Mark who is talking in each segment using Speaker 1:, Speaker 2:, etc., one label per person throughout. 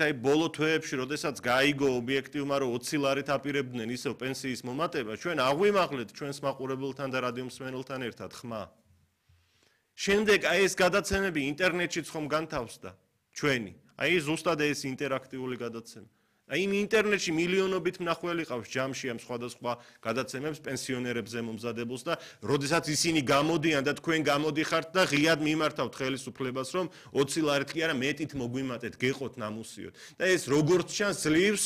Speaker 1: აი ბოლო თვეებში, როდესაც გაიგო ობიექტივმა, რომ 20 ლარით აპირებდნენ ისევ პენსიის მომატება, ჩვენ აღვიმაღლეთ ჩვენს მაყურებელთან და რადიო მსმენელთან ერთად ხმა. შემდეგ აი ეს გადაცემები ინტერნეტშიც ხომ განთავსდა ჩვენი. აი ზუსტად ეს ინტერაქტიული გადაცემა. აი იმ ინტერნეტში მილიონობით მნახველი ყავს ჯამში ამ სხვადასხვა გადაცემებს პენსიონერებზე მომზადებულს და როდესაც ისინი გამოდიან და თქვენ გამოდიხართ და ღიად მიმართავთ ხელისუფლებას, რომ 20 ლარით კი არა მეტით მოგვიმატეთ, გეყოთ ნამუსიოთ. და ეს როგორც ჩანს ძლივს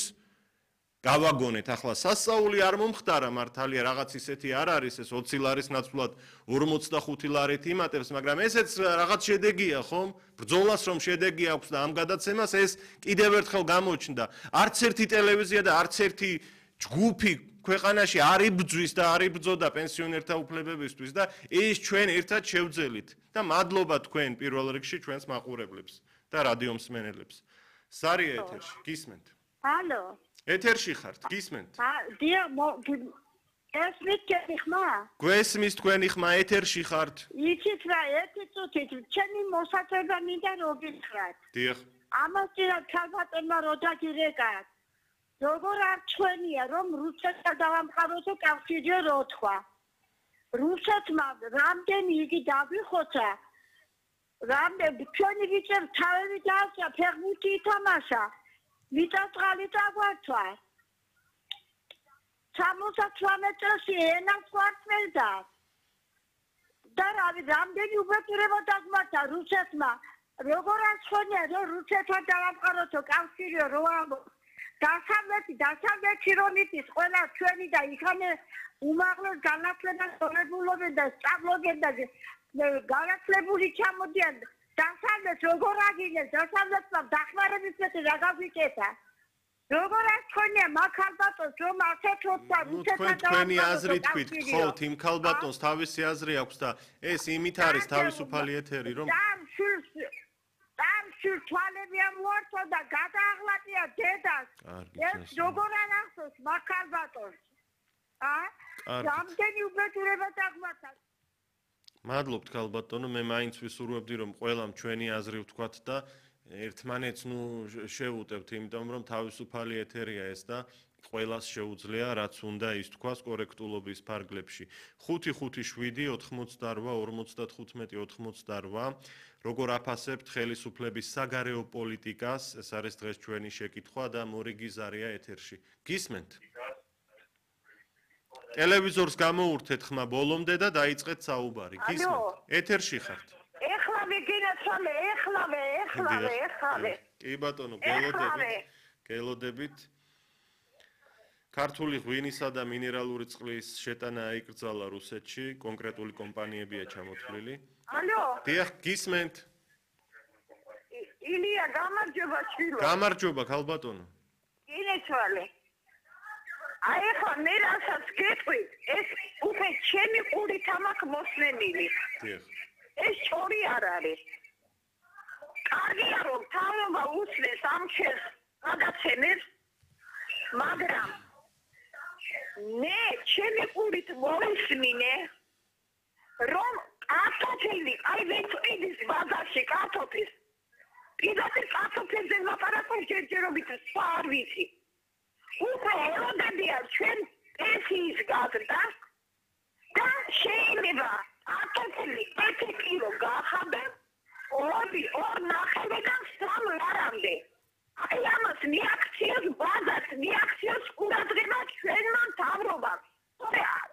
Speaker 1: გავაგონეთ ახლა სასწაული არ მომხდარა მართალია რაღაც ისეთი არ არის ეს 20 ლარის ნაცვლად 45 ლარით იმატებს, მაგრამ ესეც რაღაც შედეგია ხომ? ბრძოლას რომ შედეგი აქვს და ამ გადაცემას ეს კიდევ ერთხელ გამოჩნდა. არც ერთი ტელევიზია და არც ერთი ჯგუფი ქვეყანაში არ იბრძვის და არ იბრძოდა პენსიონერთა უფლებებისთვის და ეს ჩვენ ერთად შევძელით. და მადლობა თქვენ პირველ რიგში ჩვენს მაყურებლებს და რადიო მსმენელებს. სარია ეთერში, გისმენთ?
Speaker 2: ალო.
Speaker 1: ეთერში ხართ, გისმენთ?
Speaker 2: ესმით ჩემი ხმა?
Speaker 1: გვესმის თქვენი ხმა, ეთერში ხართ.
Speaker 2: იცით რა, ერთი წუთით, ჩემი მოსაწევდა მინდა რომ გითხრათ.
Speaker 1: დიახ.
Speaker 2: ამასთანავე ქალბატონმა რო დაგირეკათ. როგორ არ ჩვენია რომ რუსეთთან დავამყაროთო კავშირი რო თქვა. რუსეთმა რამდენი იგი დაგვიხოცა. რამდენი ჩვენი ვიწერ თავები დაასწრა, ფეხბურთი ითამაშა. მიწაწყალი დაგვართვა. 68 წელს ენას ვარწმენდა. და რამდენი უბედურება დაგმართა რუსეთმა. როგორ აცხონია რომ რუსეთთან დავამყაროთო კავშირი რო დასავლეთი რომ იცის ყველა ჩვენი და იქანე უმაღლეს განათლებას სწორებულობენ და სწავლობენ და განათლებული ჩამოდიან. დასავლეთ როგორ აგინეს, დასავლეთმა დახმარების მეტი რა გაგვიკეთა. როგორ აცხონია მაგალბატონს რომ ასეთ როცა რუსეთთან
Speaker 1: თქვენი აზრი თქვით, ხო, იმ ქალბატონს თავისი აზრი აქვს და ეს იმით არის თავისუფალი ეთერი რომ
Speaker 2: სულ თვალები ამოართვა და გადააღლატია დედას. ეს როგორ არ ახსოვს მაგალბატონს? რამდენი უბედურება დაგმართა.
Speaker 1: მადლობთ ქალბატონო, მე მაინც ვისურვებდი რომ ყველამ ჩვენი აზრი ვთქვათ და ერთმანეთს შევუტევთ, იმიტომ რომ თავისუფალი ეთერია ეს და ყველას შეუძლია რაც უნდა ის თქვას კორექტულობის ფარგლებში. 557-88-55-88 როგორ აფასებთ ხელისუფლების საგარეო პოლიტიკას, ეს არის დღეს ჩვენი შეკითხვა და მორიგი ზარია ეთერში. გისმენთ? ტელევიზორს გამოურთეთ ხმა ბოლომდე და დაიწყეთ საუბარი. გისმენთ? ეთერში ხართ?
Speaker 2: ეხლავე გინაცვალე, ეხლავე.
Speaker 1: კი ბატონო, გელოდებით. ქართული ღვინისა და მინერალური წყლის შეტანა აიკრძალა რუსეთში, კონკრეტული კომპანიებია ჩამოთვლილი.
Speaker 2: ალო.
Speaker 1: დიახ, გისმენთ?
Speaker 2: ილია, გამარჯობა შვილო.
Speaker 1: გამარჯობა ქალბატონო.
Speaker 2: გინაცვალე. აი ხო მე რასაც გეტყვით, ეს უკვე ჩემი ყურით ამაქვს მოსმენილი.
Speaker 1: დიახ.
Speaker 2: ეს შორი არ არის. კარგია რომ თავობა უსმენს ამ ჩემს გადაცემებს, მაგრამ მე ჩემი ყურით მოვისმინე, რომ კარტოფილი, აი ვეწვიდის ბაზარში კარტოფილს. პირდაპირ კარტოფილზე ლაპარაკობს ჯერჯერობით სხვა არ ვიცი. უკვე ელოდებიან ჩვენ პენსიის გაზრდა და შეიძლება კარტოფილი 1 კილო გახადენ 2.5-დან 3 ლარამდე. აი ამას მიაქციოს ბაზარს, მიაქციოს ყურადღება ჩვენმა მთავრობამ.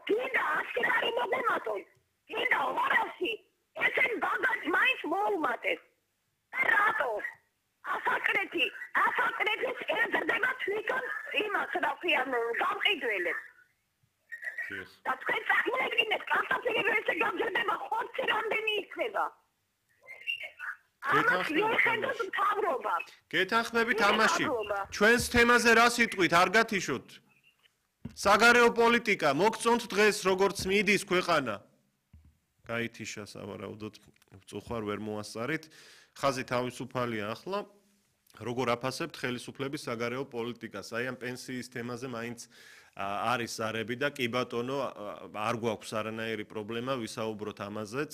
Speaker 2: კიდე 100 ლარი მოგემატონ, კიდე 200, ესენ ბაზარს მაინც მოუმატეთ. რატო? ასაკრეთის ეზრდება თვითონ იმას რა ქვია გამყიდველებს. და თქვენ წარმოედგინეთ კარტოფილები ესე გამზრდება ხორცი რამდენი იქნება.
Speaker 1: გეთანხმებით ამაში. ჩვენს თემაზე რა სიტყვით არ გათიშოთ? საგარეო პოლიტიკა მოგწონთ დღეს როგორც მიდის ქვეყანა? გაითიშა სავარაუდოდ წუხარ ვერ მოასწარით. ხაზი თავისუფალია ახლა. როგორ აფასებთ ხელისუფლების საგარეო პოლიტიკას? აი ამ პენსიის თემაზე მაინც არის ზარები და კი ბატონო არ გვაქვს არანაირი პრობლემა ვისაუბროთ ამაზეც.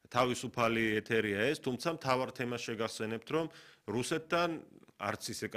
Speaker 1: თავისუფალი ეთერია ეს, თუმცა მთავარ თემას შეგახსენებთ, რომ რუსეთთან არც ისე